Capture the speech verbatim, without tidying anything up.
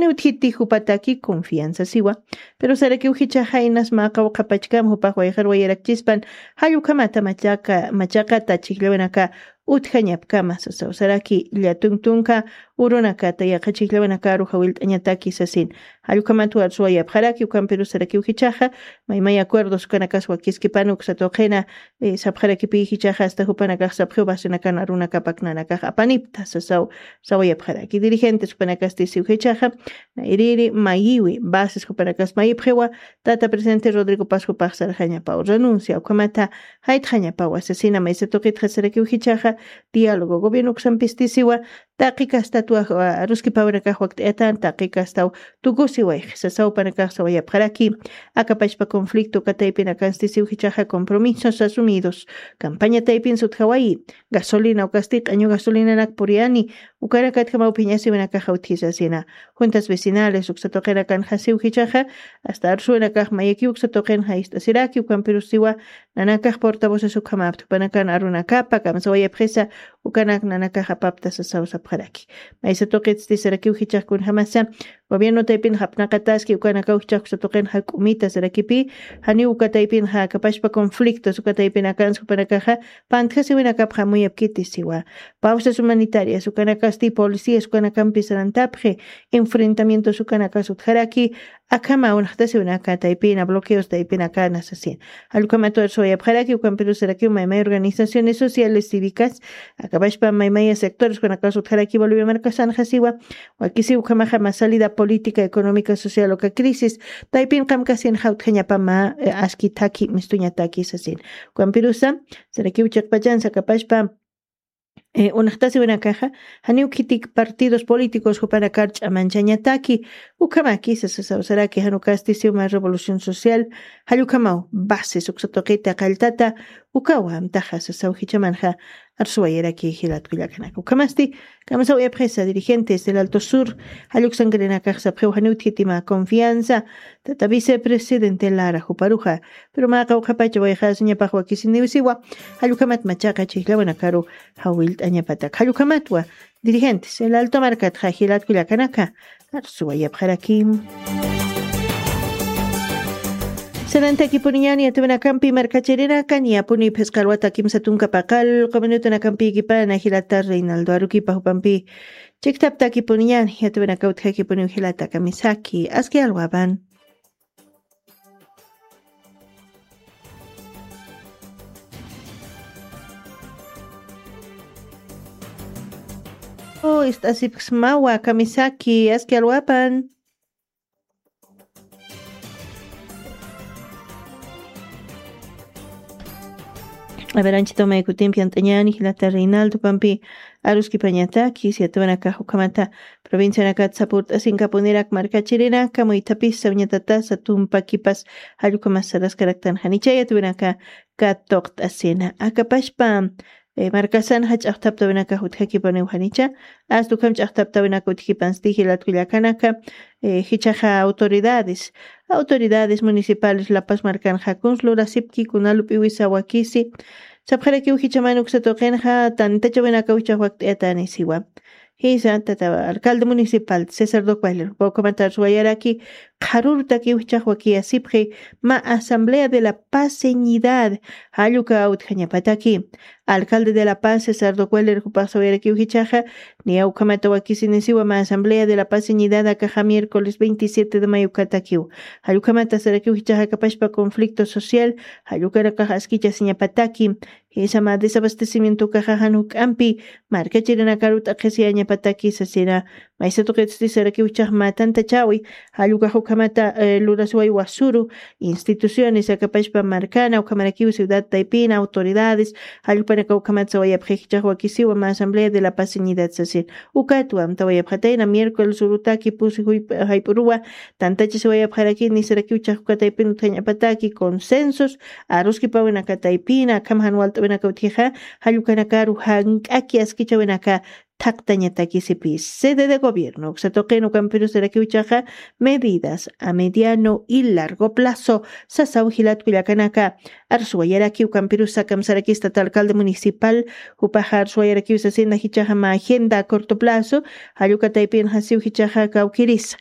Utjiti jupataki confianza siwa. Pero sarakiw jichaxa inas mä qawqhapachkam jupax wayqar wayarakchispan jallukhamata machaka machaqata chijllawinaka utjañapkama sasaw saraki llatun tunka urunakata yaqha chijllawinakaru jawillt'añataki sasin. Jallukhamat warsuwayapxaraki ukampirus sarakiw jichaxa maymay acuerdos ukanakas wakiskipan uksa tuqina sapxarakipi jichaxa asta jupanakax sapxiw basinakan arunakapak nanakax apanipta sasaw sawayapxaraki dirigentes jupanakasti siw jichaxa nayriri mayiwi bases jupanakas mayipxiwa. Tata presidente Rodrigo Pascupax sarxañapaw renuncia ukhamata jaytxañapaw asesina maysa tuqitxa sarakiw jichaxa diálogo gobierno uksampistisiwa taqi kastatwa aruskipawinakax wakt'ayatan taqi kastaw tukusiwayxi sasaw panakax sawayapxaraki. Akapachpa conflicto kataypinakanstisiw jichaxa compromisos asumidos campaña taypin sutjawayi gasolina ukasti q'añu gasolinanak puriyani ukanakatjamaw phiñasiwinakaxa utjisasina. Juntas vecinales uksa tuqinakanxasiw jichaxa asta arsuwinakax mayaki uksa tuqinxa ist'asiraki ukampirusiwa nanakax portavoces ukhamapta jupanakan arunakapa kamsawayapxisa ukanak nanakax apapta sasaw sapxaraki. Maysa tuqitsti sarakiw jichax kunjamasa gobierno taypin japnaqataski ukanakaw jichax uksa tuqin jak'umita sarakipi janiw uka taypinxa akapachpa conflictos uka taypinakansa jupanakaxa pantjasiwinakapxa muyapkiti siwa. Pausas humanitarias ukanakasti policías ukanakampi sarantapxi enfrentamientos ukanakas utjaraki akhama unxtasiwinaka taypina bloqueos taypinakana sasin. Jallukhamat warsuwayapxaraki ukampirus sarakiw maymay organizaciones sociales cívicas akapachpa maymaya sectores ukanakas utjaraki bolivia markasanxasiwa. Wakisiw ukhamaxa mä salida política económica social uka crisis taypin qamkasinxa utjañapama aski thaki mistuñataki sasin. Ukampirusa sarakiw chiqpachansa akapachpa unxtasiwinakaxa janiw khitik partidos políticos jupanakar ch'amanchañataki ukhamaki sasasaw saraki janukasti siwma revolución social jallukhamaw bases uksa tuqita qalltata ukawa amtaxa sasaw jichamanxa arsuwayaraki jilatkullakanaka ukhamasti kamsawayapxisa dirigentes del alto sur jalluksankarinakax sapxiw janiw khitima confianza tata vicepresidente lara juparuxa pero mä qawqhapacha wayxasiñapax wakisiniwsiwa jallukhamat machaqa chijllawinakaru jawillt'añapatak jallukhamatwa dirigentes el alto markatxa jilatkullakanaka arsuwayapxarakim. Sanantakipuniñani yatawinakampi markachirinakan yapuni phisqa alwata kimsa tunka paqal quminutanakampiykipana jilata reinaldo arukipa jupampi chiktaptakipuniñani yatawinaka utjakipuniw jilata kamisaki aski alwapan. Ist'asipksmawa kamisaki aski alwapan. Aberanchitoma ikutimpi ant'añani jilata reinaldo pampi aruskipañataki siatawanakax ukhamata provincianakat sapurt'asinkapunirak markachirinaka muythapis sawñatatasa tumpakipas jallukhamas saraskaraktan janichayat winaka katuqt'asina akapashpa markasan jach'aqtaptawinaka jutjakipaniw janicha asta ukham ch'aqtaptawinaka utjipansti jilatkullakanaka jichaxa autoridades autoridades municipales lapas markanxa kuns lurasipki kuna lup'iwisa wakisi sapxarakiw jichaman uksa tuqinxa tantachawinakaw jichax wakt'ayatanisiwa. Jisa tata alcalde municipal césar docualer pawkamatar suwayaraki qharurtakiw jichax wakiyasipxi mä asamblea de la paz señidad jalluka utjañapataki alcalde de la paz césar docualer jupax sawayarakiw jichaxa niya ukhamata wakisinisiwa mä asamblea de la paz señidad akaxa miércoles veintisiete de mayo katakiw jallukhamata sarakiw jichaxa kapashpa conflicto social jallukanakax askichasiñapataki jisa mä desabastecimiento ukaxa jan juk'ampi markachirinakaru t'aqhisiyañapataki sasina. Maysa tuqitsti sarakiw jichax mä tantachawi jallukax ukhamata lurasway wasuru instituciones akapashpa markana ukhamarakiw ciudad taypina autoridades jallupanaka ukhamat sawayapxi jichax wakisiwa mä asamblea de la paz señidad sasin. Ukatwa amtawayapxatayna miércoles urutaki pusi jayp'uruwa tantachasiwayapxaraki nisarakiw jichax uka taypin utjañapataki consensos aruskipawinaka taypina akham jan walt'awinaka utjixa jallukanakaru jank'aki askichawinaka thaqtañatakisipi sede de gobierno uksa tuqin ukampirusarakiw jichaxa medidas a mediano y largo plazo sasaw jilatkullakanaka arsuwayaraki ukampirusa kamsarakista tata alcalde municipal jupaxa arsuwayarakiw sasina jichaxa mä agenda a corto plazo jalluka taypin jasiw jichaxa kawkirisa